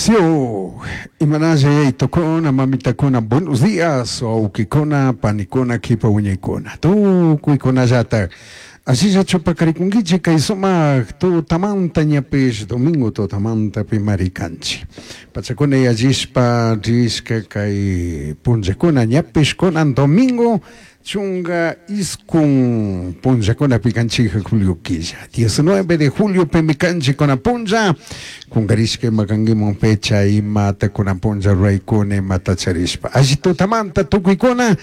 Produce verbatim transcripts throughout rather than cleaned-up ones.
Sio, imanalla yaytukuna, mamitakuna, buenos días, wawkikuna, panikuna, kipa wiñaykuna, tukuykunallatak ashillachu pakarikunkichik kay sumak tutamanta ñapish domingo tutamanta pimari kanchik pachakuna yallishpa rishka kay punllakuna ñapish kunan domingo chunga iskun punllakunapi kanchik julio killa diecinueve de julio pimi kanchik kunan punlla kunkarishka ima kankiman fecha imata kunan punlla ruraykuna imata charishpa alli tutamanta tukuykuna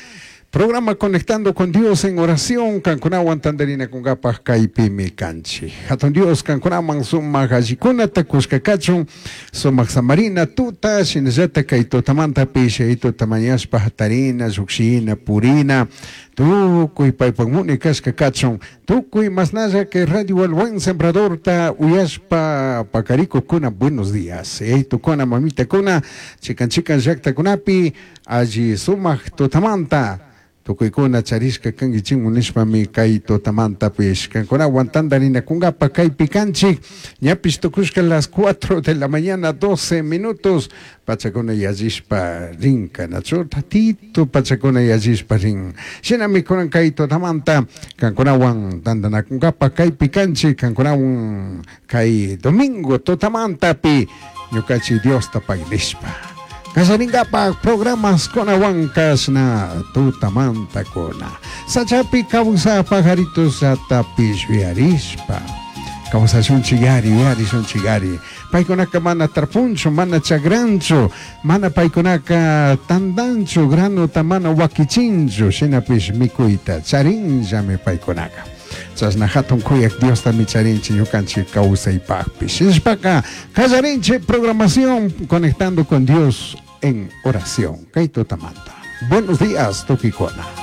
programa Conectando con Dios en oración kankunawan tantarinakunkapaj kaypimi kanchik hatun Dios kankunaman sumak allikunata kushka kachun sumak samarina tuta shinallatak kay tutamantapish tuta mañashpa hatarina llukshina purina tukuy paypak muni kashka kachun tukuy masnalla kay Radio El Buen Sembradorta uyashpa pakarikukuna buenos días yaytukuna mamitakuna chikan chikan llaktakunapi alli sumak tutamanta tukuykuna charishka kankichikmun nishpami kay tutamantapish kankunawan tantarinakunkapa kaypi kanchik ñapish tukushka las cuatro de la mañana doce minutos pachakuna yallishpa rinka nachu tatito pachakuna yallishpa rin shinami kunan kay tutamanta kankunawan tantanakunkapa kaypi kanchik kankunawan kay domingo tutamantapi ñukanchik Diosta pagnishpa Kallarinkapak programas kunawan kashna tutamanta kuna sachapi kawsaj pajaritos llatapish yuyarishpa kawsashunchik yari yuyarishunchik yari paykunaka mana tarpunchu mana chagranchu mana paykunaka tandanchu granota mana wakichinchu shinapish mikuyta charinllami paykunaka chashna hatun kuyak Diostami charinchik ñukanchik kawsaypakpish shinashpaka kallarinchik programación Conectando con Dios en oración kay tutamanta buenos días tukuykuna.